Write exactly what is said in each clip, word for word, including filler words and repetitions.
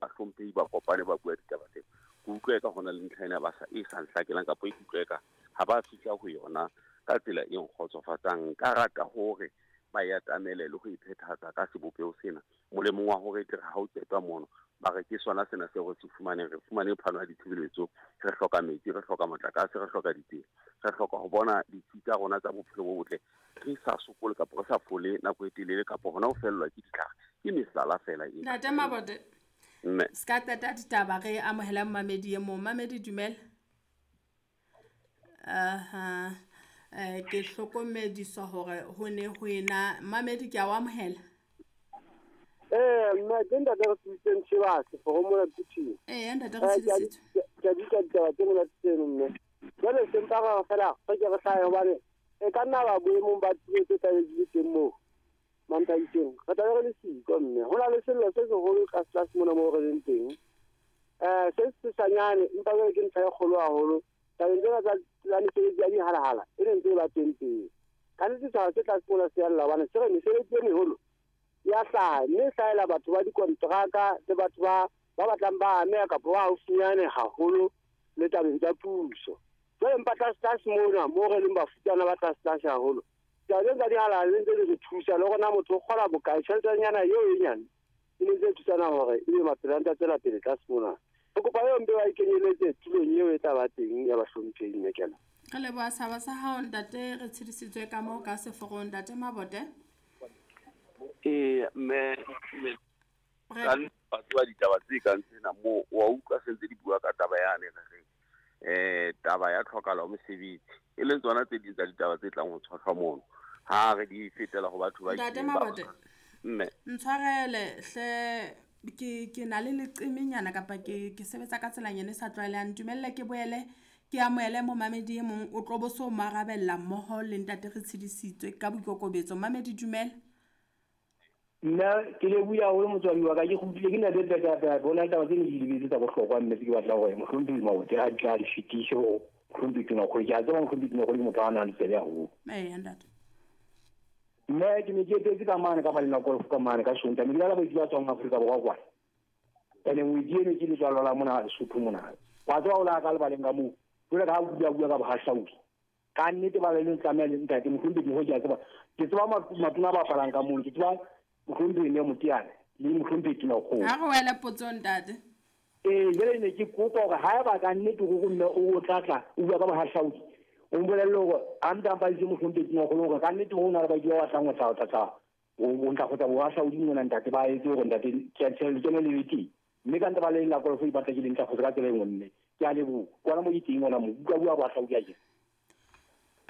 Bahlomphehi ba kopane ba bua ditaba tseo, ke utlwe ka hona le ntlha ena ba sa e sa nhlakelang kapa e utlwe ka ha ba fihla ho yona ka tsela e nkgotsofatsang. Nka rata hore ba e atamele le ho e phethahatsa ka sebopeho sena, molemong wa hore tle ha o qetwa mono ba re ke sona sena seo re se fumaneng. Re fumane phano ya ditshebeletso, re hloka metsi, re hloka motlakase, re hloka ditsela, re hloka ho bona ditsi tsa rona tsa bophelo bo botle, re sa sokole kapa re sa fole nako e telele kapa hona ho fellwa ke ditlhare. Ke mehlala feela ena. Ntate Mabote, Mme se ka qeta ditaba, re amohela mmamedi e mong. Mmamedi, dumela. Aha, eh, ke hlokomediswa hore ho ne ho ena. Mmamedi, ke a o amohela. Eh, mme ke ntate re tsitseng Tshibase for mona Phuteng. Ee, ntate re tshedisitswe. Ke a bitsa ditaba tse monate tseno, mme. Jwale se mpa re fela re ke re hlahe hobane e ka nna ba boemong ba tulo tse tlabe di le teng moo Manthabiseng. Re tlabe re le siko, mme. Ho na le sello se seholo tlase tlase mona moo re leng teng. Eh, se sesanyane empa jwale ke ntlha e kgolo haholo. Tabeng tsena tsa tsa mesebetsi ya dihalahala e ne ntse e ba teng pele. Ka nnete setjhaba se tlase mona se a lla hobane se re mesebetsi e meholo ya hlaha, mme e hlahela batho ba dikonteraka le batho ba ba batlang ba ameha kapa ba haufinyane haholo le tabeng tsa puso. Jwale empa tlase tlase mona moo re leng bafutsana ba tlase tlase haholo, taba tsena tsa dihalahala di ntse di re thusa le hore na motho o kgola bokae, tjheletenyana eo e nyane e ne ntse e thusana hore ebe maphelo a ntse a tswela pele tlase mona. Re kopa eo mpe ba e kenyeletse tulong eo e tla ba teng ya bahlomphehi, mme ke a Re leboha tshaba sa hao, ntate. Re tshedisitswe ka moo ka seforong, ntate Mabote. Ee, mme mme Re ka ba tseba ditaba tse kang tsena moo wa utlwa se ntse di bua ka taba yane re reng eh taba ya tlhokahalo ya mosebetsi, e leng tsona tse ding tsa ditaba tse tlang ho tshohlwa mono ha re di fetela ho batho ba Ntate itseng ba Mabote, mme ntshwarele hle, ke ke na le leqemenyana kapa ke ke sebetsa ka tselanyana e sa tlwaelehang. Ntumelle ke boele ke amohele momamedi e mong, o tlo bo so mo arabella mmoho le ntate re tshedisitswe ka boikokobetso. Mmamedi, dumela. Nna ke lebohile haholo motswadi wa ka, ke kgutlile ke na le tata bona taba tse ne di lebetse tsa bohlokwa, mme ke batla hore mohlomphehi Mabote a tla di fetise ho mohlomphehi Tonakgolo. Ke a tseba mohlomphehi Tonakgolo ke motho a nang le tsebe haholo. Eya, ntate. Mme ke ne ke etetse ka mane ka malena golf ka mane ka Sontaha, mme ke la baeti ba tswang Afrika Borwa kwana. Ene ngwedi eno ke letswalo la mona Lesotho mona. Wa tseba o la ka lebaleng ka moo, jwale ka ha o bua bua ka bohahlaudi. Ka nnete ba le tlameha le ntate mohlomphehi ho ke a tseba. Ke tseba matona a bapalang ka mono, ke tseba mohlomphehi Neo Moteane le mohlomphehi Tonakgolo. Ha re wele potsong, ntate. Ee, jwale ne ke kopa hore haeba ka nnete hore mme o tla tla o bua ka bohahlaudi, o mbolelle hore a nta mpa itse mohlomphehi Tonakgolo hore ka nnete ho na le baeti ba batlang ho tla ho tla tla ho ntlafatsa bohahlaudi mona, ntate, ba etse hore ntate ke a tshela lekeno le be teng. Mme ka ntle ba le la golf e batla ke le ntlafatso ka tsela e nngwe, mme ke a leboha. Kwana mo ke teng hona moo, bua bua bohahlaudi a ke.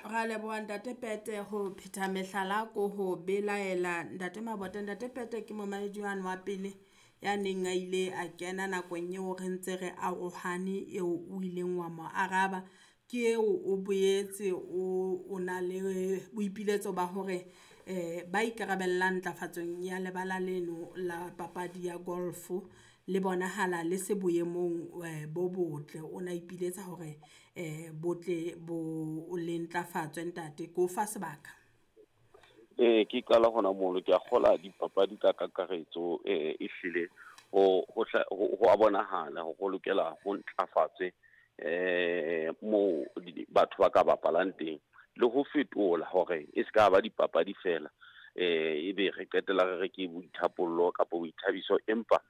Ra leboha ntate Pete ho phetha mehlala ko ho belaela ntate Mabote. Ntate Pete ke momamedi wane wa pele ya neng a ile a kena nakong eo re ntse re arohane, eo o ileng wa mo araba. Ke eo o boetse o o na le boipiletso ba hore eh ba ikarabellang ntlafatsong ya lebala leno la papadi ya golf le bonahala le se boemong eh, bo botle. O na ipiletsa hore eh botle bo le ntlafatswe, ntate. Ke o fa sebaka. Ee, ke qala hona mono, ke a kgola dipapadi ka kakaretso, eh e hlile ho ho ho a bonahala hore ho lokela ho ntlafatswe eh moo batho ba ka bapalang teng, le ho fetola hore e se ka ba dipapadi fela, eh ebe re qetella re re ke boithapollo kapa boithabiso, empa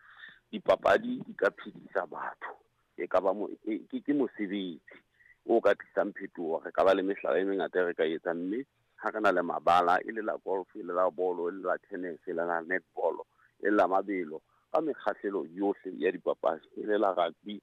dipapadi di ka phedisa batho, e ka ba mo ke ke mosebetsi o ka tlisang phetoho. Re ka ba le mehlala e mengata e re ka etsang, mme ha re na le mabala e le la golf, e le la bolo, e le la tennis, e le la netball, e le la mabelo, ka mekgahlelo yohle ya dipapadi, e le la rugby,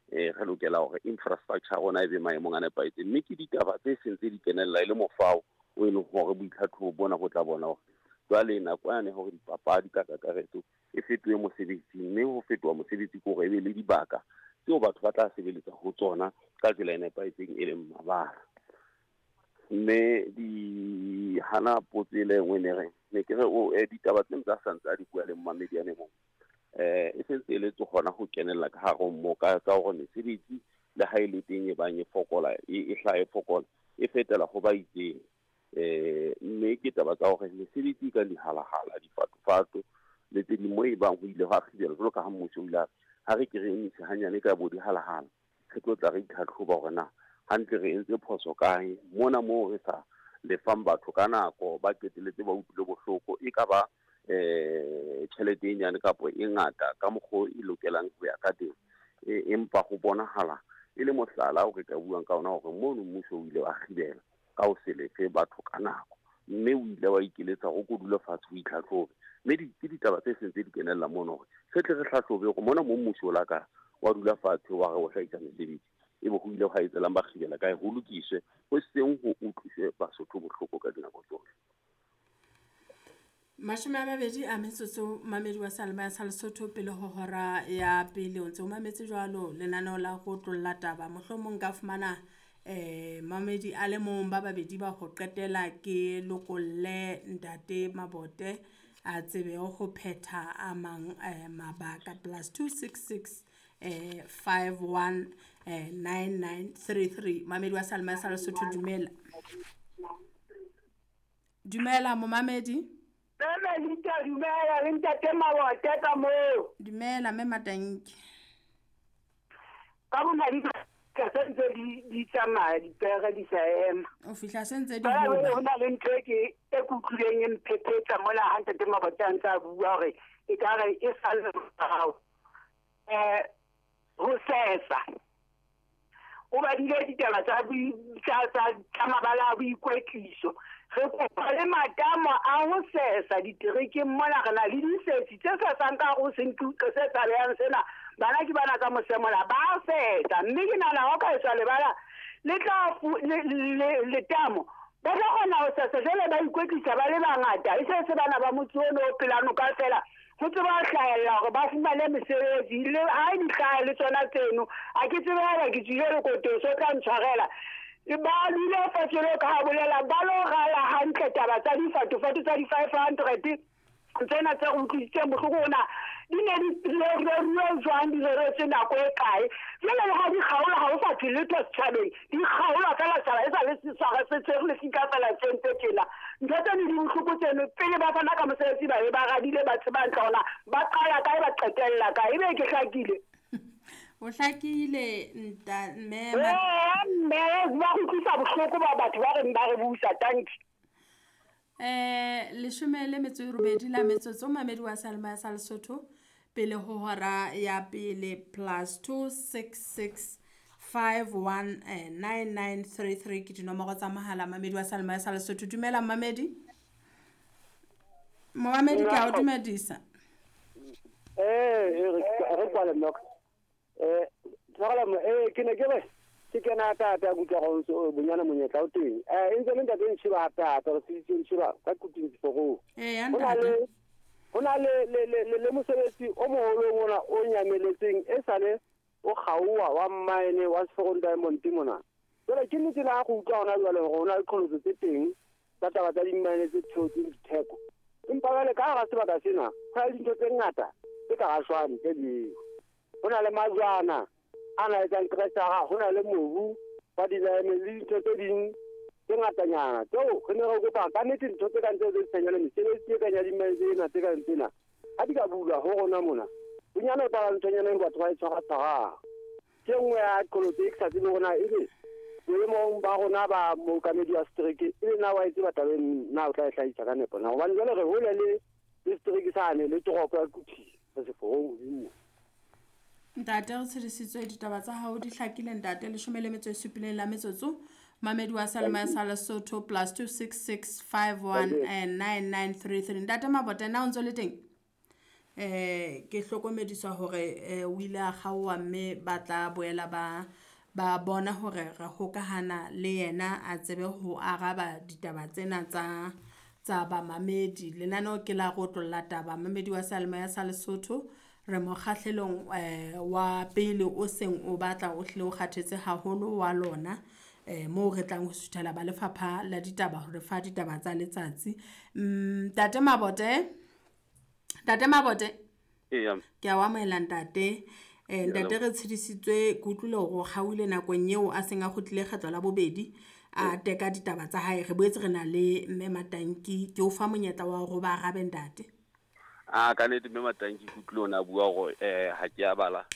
eh re lokela hore infrastructure ya rona e be maemong a nepahetseng. Mme ke ditaba tse seng tse di kenella e le mofao o e leng hore boitlhatlhobo bona bo tla bona hore jwale nako yane hore dipapadi ka kakaretso e fetohe mosebetsi, mme ho fetoha mosebetsi ke hore e be le dibaka tseo batho ba tla sebeletsa ho tsona ka tsela e nepahetseng, e leng mabala. Mme di hana potso e le nngwe ne reng ne ke re o eh, ditaba tse ntse a santse a di bua le mmamedi ane mong, eh e sentse e letse hona ho kenella ka hare ho mo ka tsa hore mesebetsi le ha e le teng e bang e fokola, e e hlaha e fokola, e fetela ho ba itseng. Eh mme ke taba tsa hore mesebetsi ka dihalahala, difatofato le tse ding moo e bang ho ile hwa kgibelwa jwalo ka ha mmuso o ile a Ha re ke re emise hanyane ka bo dihalahala, re tlo tla re itlhatlhoba hore na hantle re entse phoso kae mona moo re sa lefang batho ka nako, ba qetelletse ba utlwile bohloko, e ka ba eh tjhelete e nyane kapa e ngata ka mokgwa e lokelang ho ya ka teng. Empa go bonahala e le mohlala o re ka buang ka ona hore mono mmuso o ile wa kgibela ka ho se lefe batho ka nako, mme o ile wa ikeletsa go kodula fatshe ho itlhatlhobe. Mme ke ditaba tse seng tse di kenella mono hore re tle re hlahlobe hore mona mo mmuso o la ka wa dula fatshe wa re o hlahisa mesebetsi, e be ho ile hwa etselang ba kgibela kae, ho lokiswe ho seng ho utlwiswe Basotho bohloko ka dinako tsohle. Mashome a mabedi a metsotso mamedi wa Seyalemoya sa Lesotho pele ho hora ya pele. O ntse o mametse jwalo lenaneo la ho otlolla taba. Mohlomong ka fumana eh mamedi a le mong ba babedi ba ho qetela ke lokolle ntate Mabote a tsebe ho phetha a mang eh, mabaka. Plus two six six eh five one eh nine nine three three. Mamedi wa Seyalemoya sa Lesotho, dumela. Dumela momamedi. Mme Lita, dumela le ntate Mabote ka moo. Dumela mme Matanki. Ka bona di ka sentse di di tsamaya dipere di sa ema. O fihla sentse di hoba. Ho na le ntho e ke e kutlwileng e mphephetsa mola ha ntate Mabote a ntse a bua hore e ka re e sa le morao. Eh ho sesa. O badile ditaba tsa tsa tsa mabala a boikwetliso. Re kopa le matamo a ho sesa diterekeng mona, re na le disetsi tse sesang ka ho se ntuqe se tshabehang sena. Bana ke bana ka mosemola ba sesa, mme ke nahana ho ka etswa lebala le tla letamo ba tla kgona ho sesa. Jwale ba ikwetlisa ba le bangata, e se se bana ba motse ono o pela noka fela ho tseba ho hlahella hore ba fumane mesebetsi. Le ha di hlaha le tsona tseno, ha ke tsebe haeba ke tswile lekotong, so tla ntshwarela. Ba dule fatshe le ka bolela ba lo rala hantle taba tsa difatofato tsa di-five hundred tsena tse re utlwisitseng bohloko ona di ne di reruwe jwang, di reretswe nako e kae. Jwale le ha di kgaolwa ha ho sa thwe letho setjhabeng, di kgaolwa fela setjhaba e sa le seswara se tshwere le sika fela se ntse tjena. Ntho tseno di bohloko tseno, pele ba fana ka mosebetsi ba be ba radile ba tseba hantle hore na ba qala kae ba qetella kae. Ebe ke hlakile. O hlakile nta mme eh mme ba go utlwisa bohloko ba batho ba reng ba re busa. Thank you. Eh leshome le metso e robedi la metsotso mamedi wa Seyalemoya sa Lesotho pele ho hora ya pele. Plus two six six five one nine nine three three ke dinomoro tsa mohala mamedi wa Seyalemoya sa Lesotho. Dumela mamedi. Mamedi ke a o dumedisa. Eh re kwale mnok. Eh tsala eh ke ne ke re ke kena tata kutlwa go ntse bonyana monyetla o teng. Eh e ntse le ntate Ntšhiba hape hape re tsitse Ntšhiba ka kuting seforong. Eh ya ntate. Ho na le le le le mosebetsi o moholo ona o nyameletseng e sale o kgaowa wa mine wa Seforong Diamond mona. Jwale ke nnete la go utlwa hona jwale hore ho na le qholotso tse teng tsa taba tsa di-mine tse theotseng ditheko. Empa jwale ka hara sebaka sena ho na le dintho tse ngata tse ka rashwang tse ding. Ho na le majwana a na etsang kreshara, ho na le mobu wa di-diamond le dintho tse ding tse ngatanyana tseo re ne re kopa ka nnete ntho tse kang tseo tse tshenyana mesebetsi e kang ya di-mine tsena tse kang tsena ha di ka bulwa ho rona mona bonyane o tla nthonyana e batho ba e tshwara-tshwarang. Ke nngwe ya qholotso e ke sa tsebe hore na ebe boemong ba rona ba mookamedi wa setereke ebe na wa e tseba tabeng na o tla e hlahisa ka nepo na, hobane jwale re hole le le setereke sane le toropo ya Quthing re Seforong hodimo. Ntate re tshedisitswe ditaba tsa hao di hlakile ntate. Leshome le metso e supileng la metsotso mamedi wa Seyalemoya sa Lesotho plus two six six five one nine nine three three. Ntate Mabote na o ntso le teng? Eh ke hlokomediswa hore o ile a kgaowa mme ba tla boela ba ba bona hore re hokahana le yena a tsebe ho araba ditaba tsena tsa tsa bamamedi. Lenaneo ke la go otlolla taba mamedi wa Seyalemoya sa Lesotho. Re mokgahlelong eh wa pele o seng o batla o hle o kgathetse haholo wa lona eh moo re tlang ho suthela ba lefapha la ditaba hore fa ditaba tsa letsatsi. Ntate Mabote, Ntate Mabote. Eya. Ke a o amohela ntate. Eh ntate re tshedisitswe ke utlwile hore o kgaohile nakong eo a seng a kgutlile kgetlo la bobedi a teka ditaba tsa hae. Re boetse re na le mme Matanki, ke o fa monyetla wa hore ba arabe ntate. A ka nnete mme Matanki ke utlwile ona bua hore eh ha ke a bala